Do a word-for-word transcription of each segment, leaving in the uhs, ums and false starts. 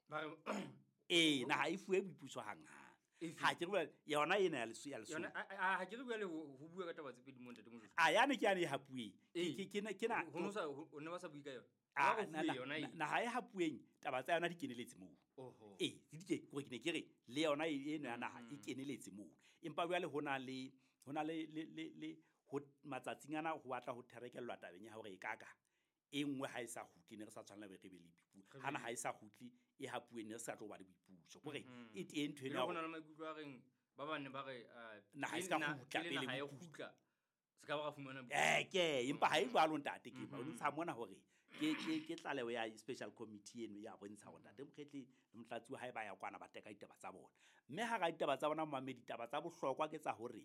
Ba re Ee, naha e fuwe boipuso hanghang. Efe? Ha ke re bua- yona ena ya Leso- ya Lesotho. Yona a- a- ha ke re bua le ho ho bua ka taba tse pedi mo, ntate Moshoeshoe. A yane ke yane e hapuweng. Ee. Ke- ke- ke ke na- Ho no sa ho ne ba sa bue ka yona. Ah, Ba re na- fuwe na- yona e. na- naha e hapuweng, taba tsa yona di keneletse moo. Oho. Ee, di ke kore ke ne ke re le yona e- eno ya naha e keneletse moo. Empa jwale ho na le ho na le le le le ho matsatsing ana ho batla ho therekellwa tabeng ya hore e kaka e nngwe ha e sa kgutle, ne re sa tshwanela hore re be le boipuso. Hana ha e sa kgutle e hapuweng, ne re sa tlo ba le boipuso. Kore e teng ntho E eno le ya ho na hore le maikutlo a reng ba bang ne ba re ah, Naha e pele ska na- kgutla, pele pele naha e boipuso. kgutla, se ka ba ra fumana boipuso. Eh, ke empa ha e jwalo, ntate, ke ba bontsha mona hore ke ke ke tlaleho ya special committee eno ya bontsha hore ntate Mokhetle le motlatsi wa hae ba ya kwana, ba teka ditaba tsa bona. Mme hara ditaba tsa bona, momamedi, ditaba tsa bohlokwa ke tsa hore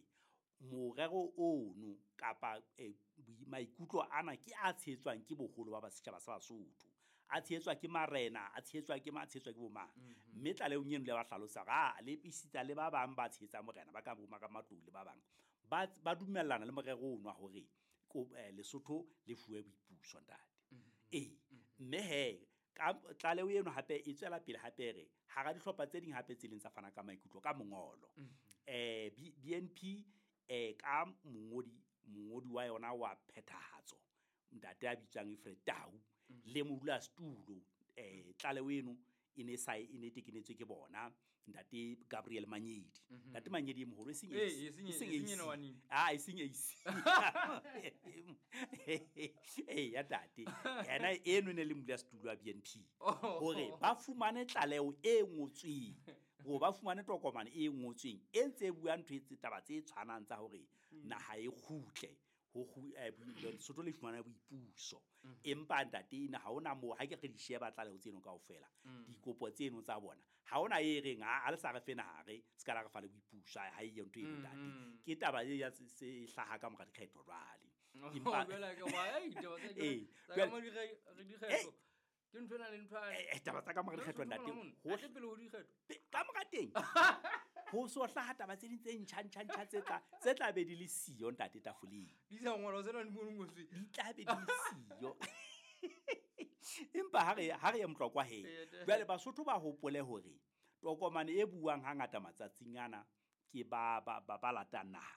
morero ono kapa eh, boi- maikutlo ana ke a tshehetswang ke boholo ba ba setjhaba sa Basotho, a tshehetswa ke marena, a tshehetswa ke ma tshehetswa ke bomang. Mme tlalehong eno le ba hlalosa hore a le esita le ba bang ba tshehetsang morena, ba ka bo Matlou le ba bang, ba ba dumellana le morero ono wa hore ko eh, Lesotho le fuwe boipuso, ntate. Ee, mme he ka tlaleho eno hape e tswela pele hape re hara dihlopha tse ding hape tse leng tsa fana ka maikutlo ka mongolo, eh B- BNP, eh ka mongodi mongodi wa yona wa phethahatso, ntate a bitswang Alfred Tau, le modulasetulo, eh tlaleho eno e ne sa e ne tekenetswe ke bona ntate Gabriel Manyedi. Ntate Manyedi e moholo, e seng Eh, A C, e seng e seng e seng A C. ena wa nini. Ah, e seng A C. Eh, ya ntate yena eno e ne le modulasetulo wa B N P, Oh. hore ba fumane tlaleho e ngotsweng, hore ba fumane tokomane e ngotsweng e ntse e bua ntho e tse taba tse tshwanang tsa hore naha e kgutle ho kgu- eh, bo- Lesotho le fumana boipuso. Empa ntate ena ha hona moo, ha ke re di sheba tlaleho tseno kaofela, dikopo tseno tsa bona, ha hona e reng ha ha le sa re fe naha, re se ka la re fa le boipuso. Ha e yo ntho eno, ntate. Ke taba e ya se se hlaha ka mora dikgetho jwale. Oh, Empa- jwale ke wa ei ditaba tsa Ee, tsa jwale- ka mo dire- re dikgetho. Ke ntho ena le ntho ya- Eh, eh, taba tsa ka mora dikgetho, ntate, ho Ate pele ho dikgetho. Pe- ka mora teng ho so hlaha taba tse ding tse ntjha ntjha ntjha tse tla tse tla be di le siyo, ntate, tafoleng. Di sa ngolwa tsena di mo ngotswe. Di tla be di le siyo. Empa ha re ha re ye motlokwa he, Ee, te- jwale Basotho ba hopole hore tokomane e buang hangata matsatsing ana ke ba ba ba, ba latang naha,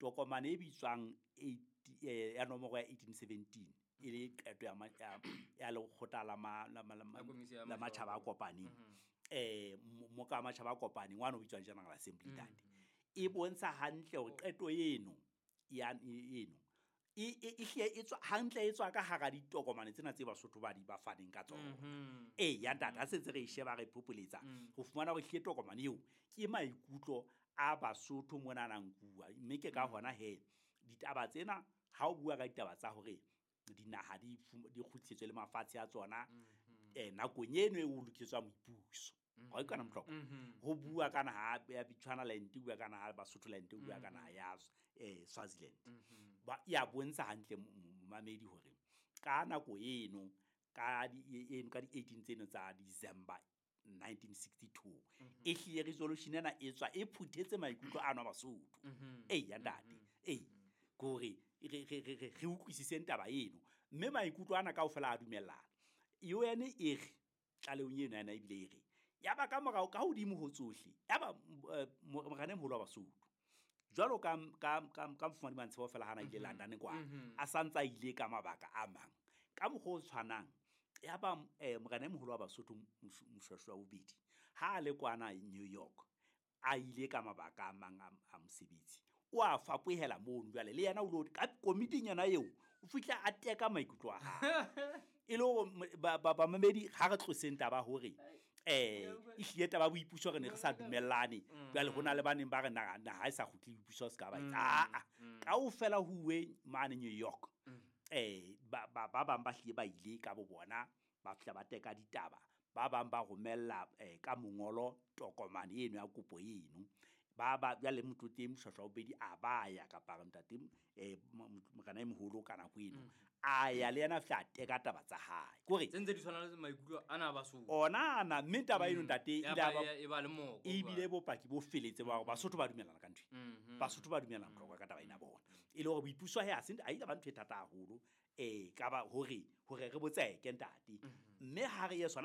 tokomane e bitswang eight- eh, ya nomoro ya eighteen seventeen, e le qeto ya ma- ya ya lekgotla la ma- la ma- la ma- La komisi ya la matjhaba a matjhaba a kopaneng, eh mo- moka wa matjhaba a kopaneng wa no bitswang General Assembly, ntate, e bontsha hantle hore qeto eno ya e- eno e e- e hlile e tswa hantle, e tswa ka hara ditokomane tsena tse Basotho ba di ba faneng ka tsona. Mhm. Ee ya ntate, ha sentse re e sheba, re phopholetsa ho fumana hore hlile tokomane eo ke maikutlo a Basotho mona nkuwa. Mme ke ka hona he ditaba tsena, ha o bua ka ditaba tsa hore dinaha di fum- di kgutlisetswe le mafatshe a tsona eh nakong eno e o lokisetswang boipuso, ga e kana motlhokwa ho bua ka naha ya Bechuanaland, o bua ka naha ya Basotholand, o bua ka naha ya eh Swaziland, ba ya bontsha hantle, momamedi, hore ka nako eno ka di e- eno ka di eighteen tseno tsa December nineteen sixty-two, e hlile resolution ena e tswa e phuthetse maikutlo ano a Basotho. Ee ya ntate, ee, ke hore re re re re re utlwisiseng taba eno, mme maikutlo ana kaofela a dumellana. U N e re tlalehong eno yana ebile e re ya ba ka morao ka hodimo ho tsohle, ya ba eh, morena e moholo wa Basotho jwalo ka ka ka ka mofumahadi Mantshebo fela hana ile London kwa, a santsa a ile ka mabaka a mang ka mokgwa o tshwanang. Ya ba eh, morena e moholo wa Basotho Mosho- Moshoeshoe wa bobedi ha a le kwana New York, a ile ka mabaka a mang a, a mosebetsi, o a fapohela mono. Jwale le yena o lo ka komiting yona eo, o fihla a teka maikutlo a hae, e le hore m- ba- ba- bamamedi, ha re tloseng taba hore eh e hlile taba ya boipuso re ne re sa dumellane. Jwale ho na le ba neng ba re naha naha e sa kgutle, boipuso se ka ba etsa. Aa, kaofela ho uwe mane New York, eh ba ba ba bang ba hlile ba ile ka bo bona, ba fihla ba teka ditaba, ba bang ba romella eh, ka mongolo tokomane eno ya kopo eno. Ba ba jwale motlotleng Moshoeshoe wa bobedi a ba ya, kapa re ntate eh, mo- mo- morena e moholo ka nako eno a ya le yena, a fihla a teka taba tsa hae, kore Tse ntse di tshwana le maikutlo ana a Basotho. Ona ana, mme taba eno, ntate, Ya ile ya ba- ba- ya- e ba le moko. Ebile bopaki bo feletse ba hore Basotho ba dumellana ka ntho e. Mhm. Basotho ba dumellana bohlokwa ka taba ena bona, e le hore boipuso he ha se ha ile ba ntho e thata haholo, eh ka ba hore hore re botseke, ntate. Mme ha re ye sona.